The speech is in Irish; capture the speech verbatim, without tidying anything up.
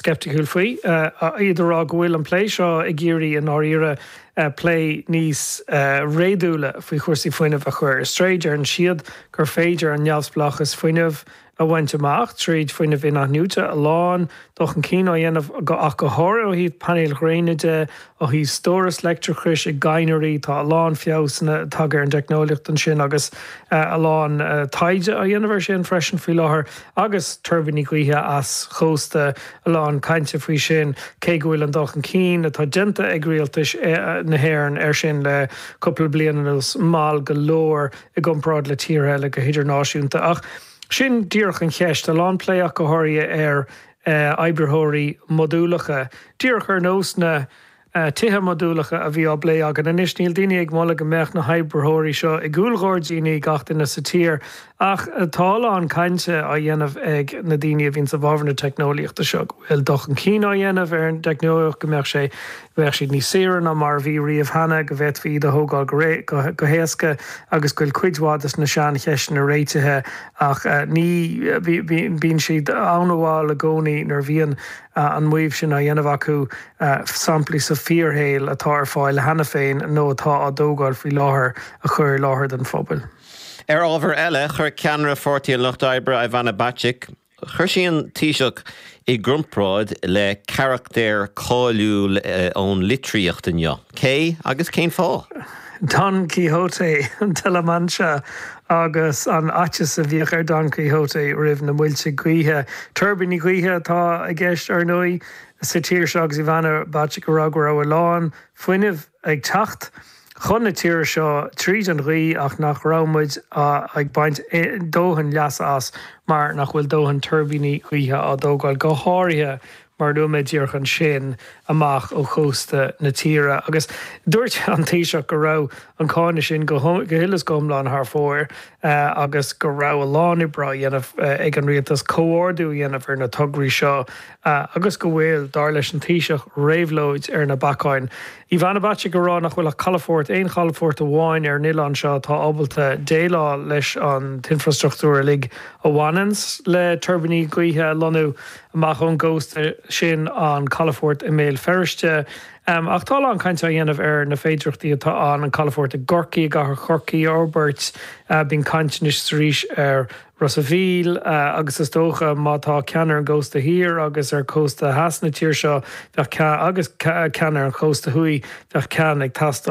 Sceipticiúil faoi, iad ag rá go bhfuil an plé seo ag iarraidh i ndáiríre plé níos réadúla faoi chúrsaí fuinnimh a chur ar strae. Deireann siad gur féidir an neamhspleáchas fuinnimh a bhaint amach tríd fuinneamh in-athnuaite, a lán dul chun cinn á dhéanamh ach go háirithe ó thaobh painéil ghréine de, ó thaobh stóras leictreachais i gcadhnraí, tá a lán feabhsanna tagtha ar an dteicneolaíocht ansin agus a lán taighde á dhéanamh air sin freisin faoi láthair agus tuirbíní gaoithe easchósta, a lán cainte faoi sin, cé go bhfuil an dul chun cinn atá déanta ag rialtais na hÉireann air sin le cúpla bliain anuas mall go leor i gcomparáid le tíortha eile go hidirnáisiúnta. Ach sin díreach an cheist, a lán plé ach go háirithe ar oibritheoirí modúlacha, díreach ar nós na tithe modúlacha a bhí á bplé againn. Anois, níl daoine ag moladh go mbeadh na hoibritheoirí seo i gcúlghairdíní gach duine sa tír, ach tá a lán cainte á dhéanamh ag na daoine a bhíonn i bhfabhar na teicneolaíochta seo go bhfuil dul chun cinn á dhéanamh ar an dteicneolaíocht, go mbeadh sé, go mbeadh siad níos saoire ná mar a bhí riamh cheana, go bhféadfaí iad a thógáil go go héasca agus go bhfuil cuid mhaith de na seancheisteanna réitithe ach ní, bíonn siad an-mhall i gcónaí nuair a bhíonn an maíomh sin á dhéanamh acu, samplaí sa fíorshaol atá ar fáil cheana féin nó atá á dtógáil faoi láthair a chur i láthair don phobal. Ar ábhar eile, chuir ceannaire Pháirtí an Lucht Oibre, Ivana Bacik, chuir sí an Taoiseach i gcomparáid le carachtar cáiliúil ón litríocht inniu. Cé agus cén fáth? Don Quixote de la Mancha agus an fhaitíos a bhíodh ar Don Quixote roimh na muilte gaoithe. Tuirbíní gaoithe atá i gceist, ar ndóigh, sa tír seo agus Ivana Bacik ag rá go raibh a lán fuinnimh ag teacht chun na tíre seo tríd an ghaoth ach nach raibh muid ag baint dóthain leasa as mar nach bhfuil dóthain tuirbíní gaoithe á dtógáil, go háirithe mar a luaigh mé díreach ansin, amach ó chósta na tíre. Agus dúirt an Taoiseach go raibh an cáineadh sin go huile is go hiomlán thar fóir agus go raibh a lán oibre á dhéanamh ag an rialtas comhordú a dhéanamh ar na tograí seo agus go bhfuil, dar leis an Taoiseach, réabhlóid ar na bacáin. Ivana Bacik ag rá nach bhfuil ach calafort, aon chalafort amháin ar an oileán seo atá ábalta déileáil leis an t-infrastruchtúr uilig a bhaineanns le tuirbíní gaoithe a lonnú amach ón gcósta, sin an calafort i mBéal Feirste. Ach tá a lán cainte á dhéanamh ar na féidearthachtaí atá ann an calafort i gCorcaigh, i gcathair Chorcaí a fhorbairt. Bíonn caint anois is arís ar Ros a' Mhíl agus is dócha má tá ceann ar an gcósta thiar agus ar chósta theas na tíre seo, bheadh ceann, agus ceann ar an chósta thuaidh, bheadh ceann ag teastáil.